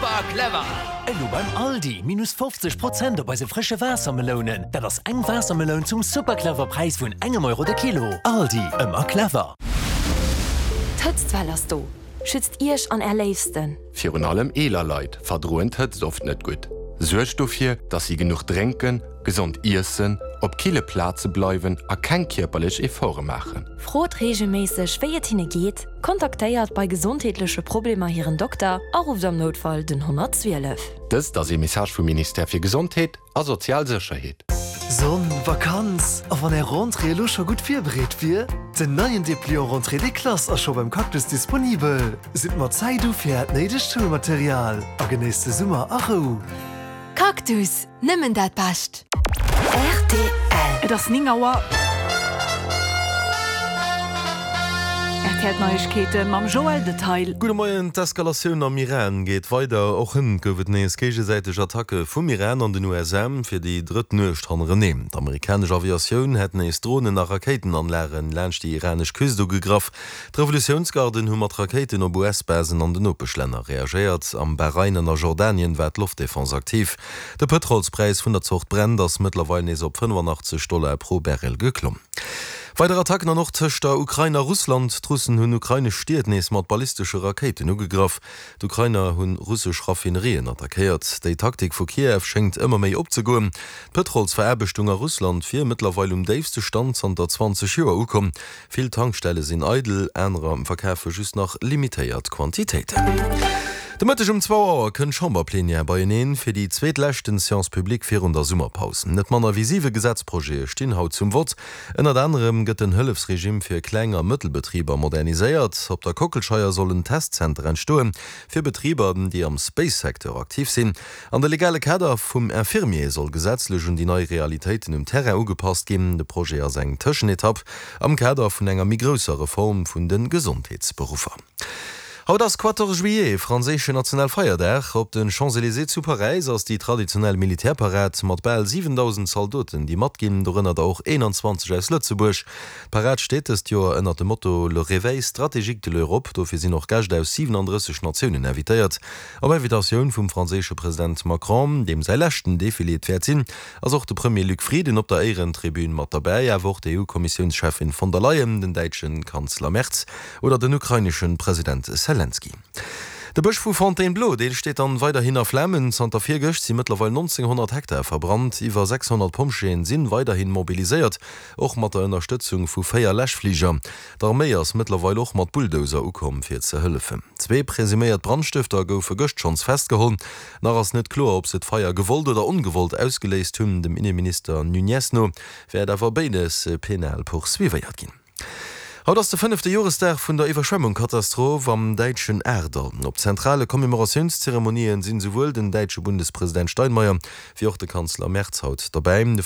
Super clever! Elo beim Aldi, minus 50 Prozent op eise frësche Waassermelounen. Dat ass eng Waassermeloun zum super clever Präis vun engem Euro de Kilo. Aldi, ëmmer clever! D'Hëtztwell ass do! Schützt Iech an Är Léifsten! Virun allem eeler Leit verdroen d'Hëtzt oft net gutt. Suergt dofir, dass si genuch drénken, gesond iessen, op kille Plaze bleiwen a keng kierperlech Efforte maachen. Frot reegelméisseg, wéi et hinne geet, kontaktéiert bei gesondheetleche Problemer hiren Dokter a rufft am Noutfall den 112. Dëst ass ee Message vum Ministère fir Gesondheet a sozial Sécherheet. Sonn, Vakanz, a wann är Rentrée elo scho gutt virbereet wier? Den neien Depliant Rentrée des classes ass scho beim Cactus disponibel. Sidd mat Zäit u fir äert néidegt Schoulmaterial a genéisst de Summer a Rou. Cactus, nëmmen dat Bescht! Rtl. Et ass 9 Auer. RTL Neiegkeete mam Joël Detail. Gudde Moien, D'Eskalatioun am Iran geet weider. Och hënt gouf et nees géigesäiteg Attacke vum Iran an den USA, fir déi drëtt Nuecht hannereneen. D'amerikanesch Aviatioun hätt nees Dronen a Rakéitenanlage laanscht déi iranesch Küst ugegraff. D'Revolutiounsgarden hu mat Rakéiten op US-Basen an den Nopeschlänner reagéiert. Am Bahrain an a Jordanien war d'Loftdefense aktiv. De Pëtrolspräis vun der Zort Brent ass mëttlerweil nees op 85 Dollar pro Barrel geklomm. Weider Attacken an och tëscht der Ukrain a Russland. D'Russen hunn ukrainesch Stied nees mat ballistesche Rakéiten ugegraff. D'Ukrainer hu russesch Raffinerien attackéiert. Déi Taktik vu Kiew schéngt ëmmer méi opzegoen. D'Pëtrolsveraarbechtung a Russland wier mëttlerweil um déifste Stand zanter 20 Joer ukomm. Vill Tankstelle sinn eidel, anerer verkafe just nach limitéiert Quantitéiten. De Mëtteg um zwou Auer kënnt d'Chamberplenière beieneen fir déi zweetleschten Séance publique virun der Summerpaus. Net manner wéi siwe Gesetzprojete stinn haut zum Vott. Ënnert anerem gëtt den Hëllefsregime fir Kleng a Mëttelbetriber moderniséiert. Op der Kockelscheier soll en Testzenter entstoen fir Betriber, déi am Space-Secteur aktiv sinn. An de legale Kader vum Infirmier soll gesetzlech un déi nei Realitéiten um Terrain ugepasst ginn. De Projet ass eng Tëschenetapp am Kader vun enger méi grousser Reform vun de Gesondheetsberuffer. Haut ass Quatorze Juillet, franséischen Nationalfeierdag. Op de Champs-Elysées zu Paräis ass déi traditionell Militärparad mat bal 7.000 Zaldoten, déi matginn, dorënner der och 21 aus Lëtzebuerg. D'Parad steet dëst Joer ënnert dem Motto Le réveil stratégique de l'Europe. Dofir sinn och Gäscht aus 37 Natiounen invitéiert. Op Invitatioun vum franséische President Macron, deem säi leschten Defilé et wäert sinn, ass och de Premier Luc Frieden op der Éierentribün mat derbäi, awer och d'EU-Kommissiounscheffin von der Leyen, den däitsche Kanzler Merz oder den ukrainesche President Selenskyj. De Bësch vu Fontainebleau, dee steet dann weiderhin a Flamen. Zanter virgëscht si mëttlerweil 1.900 Hektar verbrannt. Iwwer 600 Pompjeeën sinn weiderhin mobiliséiert, och mat der Ënnerstëtzung vu 4 Läschfliger. D'Arméi ass mëttlerweil och mat Bulldozer ukomm fir ze hëllefen. Zwee presuméiert Brandstëfter goufe gëscht schonns festgeholl. Nach ass net kloer, ob se d'Feier gewollt oder ongewollt ausgeléist hunn. Dem Inneminister Nuñez no wäert awer béides penal poursuivéiert ginn. Haut ass de fënnefte Joresdag vun der Iwwerschwemmungkatastroph am däitschen Ahrtal. Op zentrale Commémoratiounszeremonien sinn esouwuel den däitsche Bundespresident Steinmeier wéi och de Kanzler Merz haut derbäi. De.